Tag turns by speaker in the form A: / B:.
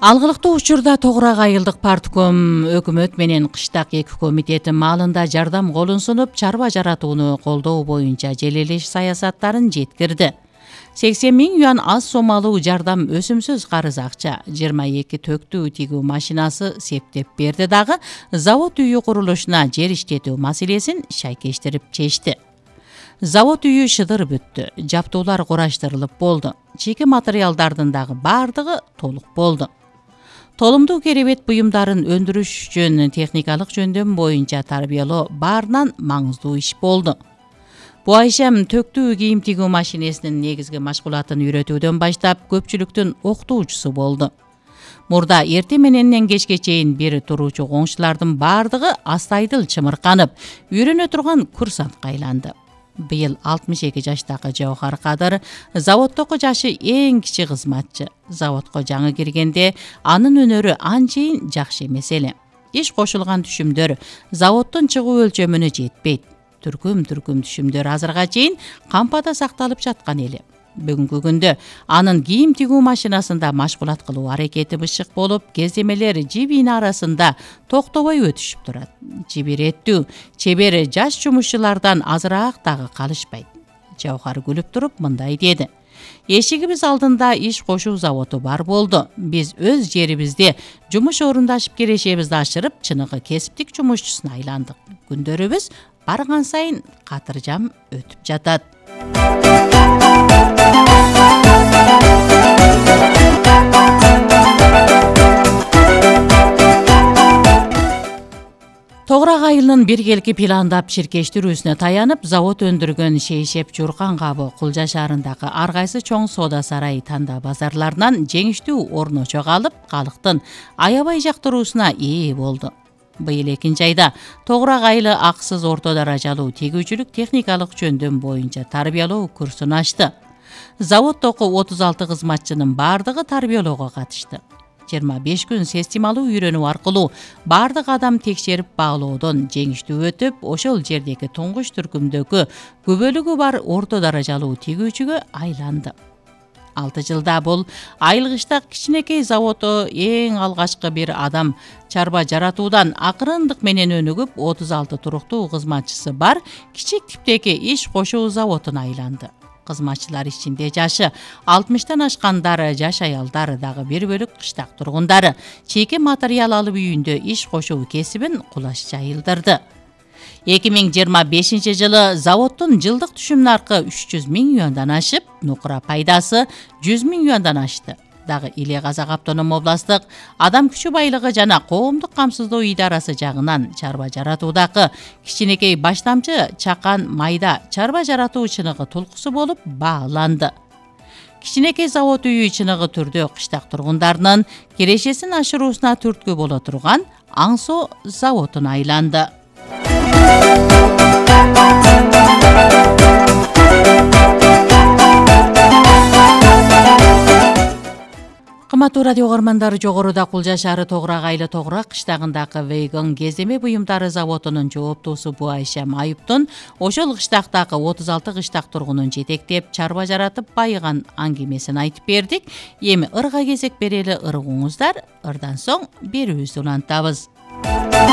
A: Алгылыктуу учурда Тогурак айылдык партком өкмөт менен кыштак эки комитети маалында жардам колун сунуп, чарба жаратууну колдоо боюнча желелеш саясаттарын жеткирди. 80 миң юан аз сомалуу жардам өсүмсүз карыз акча, 22 төктүү тигүү машинасы септеп берди дагы завод үйү курулушуна жер иштетүү маселесин шайкештирип чечти. Завод үйү шыдыр бүттү, жаптуулар кураштырылып болду. Чийки материалдардын дагы баардыгы толук болду. Толумдуу керебет буюмдарын өндүрүш үчүн техникалык жөндөм боюнча тарбиялоо баарынан маңыздуу иш болду. Бу айшем төктүү кийим тигүү машинесинин негизги машгулатын үйрөтүүдөн баштап көпчүлүктүн окутуучусу болду. Мурда эртең мененден кечке чейин бир туруучу коңшулардын баардыгы астайдыл чымырканып, үйрөнө турган курсантка айланды. Быйыл 62 жаштагы Жаухар Кадыр заводдогу жашы эң кичи кызматчы. Заводко жаңы киргенде анын өнөрү анчейин жакшы эмес эле. Иш кошулган түшүмдөр заводдун чыгуу өлчөмүнө жетпейт. Түркүм түшүмдөр азырга чейин кампада сакталып жаткан эле. Бүгүнкү күндө анын кийим тигүү машинасында машгулат кылуу аракети бышык болуп, кездемелер жибин арасында токтобой өтүшүп турат. Жибиреттүү, чебер жаш жумушчулардан азыраак дагы калышпайт. Жаухар күлүп туруп мындай деди: "Эшигибиз алдында иш кошуу заводу бар болду. Биз өз жерибизде жумуш орундашып керешебизди ашырып, чыныгы кесиптик жумушчусуна айландык. Күндөрүбүз барган сайын катыржам өтүп жатат." Тогурак айылынын биргелки пландап ширкештирүүсүнө таянып, завод өндүргөн Шейшеп Журкан кабы Кулжа шаарындагы ар кайсы чоң соода сарай танда базарларынан жеңиштүү орночок алып, калктын аябай жактыруусуна ээ болду. Быйыл 2-айда Тогурак айылы акысыз орто даражалуу тигүүчүлүк техникалык жөндөм боюнча тарбиялоо курсун ачты. Заводдогу 36 кызматчынын баардыгы тарбиялоого катышты. 25 күн системалуу үйрөнүү аркылуу баардык адам текшерип баалоодон жеңиштүү өтүп, ошол жердеги туңгуч түркүмдөгү күбөлүгү бар орто даражалуу тигүүчүгө айланды. 6 жылда бул айылгычтак кичинекей заводдо эң алгачкы бир адам чарба жаратуудан акырындык менен өнүгүп, 36 туруктуу кызматчысы бар кичик типтеги иш кошуу заводуна айланды. Кызматчылар ичинде жашы 60-тан ашкандар, жаш аялдар дагы бир бөлүк кыштак тургундары чийки материал алып үйүндө иш кошуу кесибин кулаш жайылдырды. 2025 жылы заводдун жылдык түшүм наркы 300 миң юандан ашып, нукура пайдасы 100 миң юандан ашты. Дагы Иле Казак автоном областтык адам күчү байлыгы жана коомдук камсыздоо идарасы жагынан чарба жаратуудагы кичинекей баштамчы чакан майда чарба жаратуу чыныгы тулкусу болуп бааланды. Кичинекей завод үйү чыныгы түрдө кыштак тургундарынын кирешесин ашыруусуна түрткү боло турган Аңсоо заводуна айланды. Кымбаттуу радио угармандары, жогоруда Кулжа шаары Тогурак айылы Тогурак кыштагындагы Вейгон кездеме буюмдары заводунун жооптуусу Бу Айшем Айыптын ошол кыштактагы 36 кыштак тургунун жетектеп чарба жаратып байыган аңгемесин айтып бердик. Эми ырга кезек берели ыргуңуздар, ырдан соң берүүбүздү улантабыз.